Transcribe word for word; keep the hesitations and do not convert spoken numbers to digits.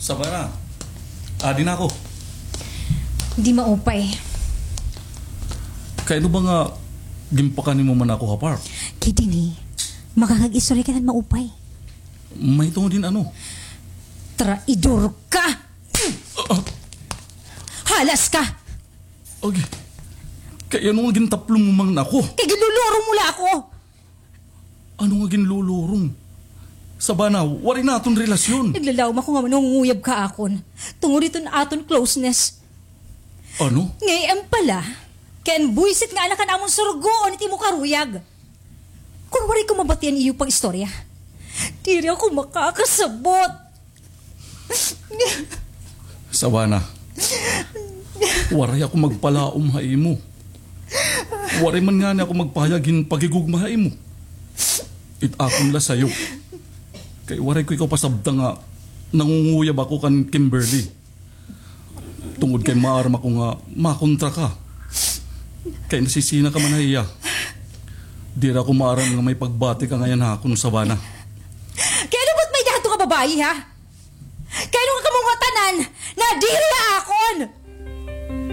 Savannah, adi na ako. Di maupay. Kay ano ba nga ginpakan nimo man ako ha park? Kay dinhi, makakag-istorya ka hin maupay. Mahitungod hin ano? Traidor ka! Ah, ah. Halas ka! Agi, kay ano nga gintaplong mo man ako? Kay ginlulurong mo la ako! Ano nga ginlulurong? Savannah, waray naton relasyon. Naglalawom ako nga nangunguyab ka ha akon. Tungod hiton aton closeness. Ano? Ngay-an pa la, kay an buwisit nga anak an amon surugoon it imo karuyag. Kon waray ko mabati an iyo pag-istorya, diri ako makakasabot. Savannah, waray ako magpalaom ha imo. Waray man ngani ako magpahayag hin paghigugma ha imo. It akon la sayo. Kay waray ko ikaw pasabta nga nangunguyab ako kan Kimberly. Tungod kay maaram ako nga makontra ka. Kay nasisina ka man ha iya. Diri ako maaram nga may pagbati ka ngay-an ha akon, Savannah. Kay ano ba it may-ada hadto nga babaye, ha? Kay ano nga kamo ngatanan nadiri ha akon?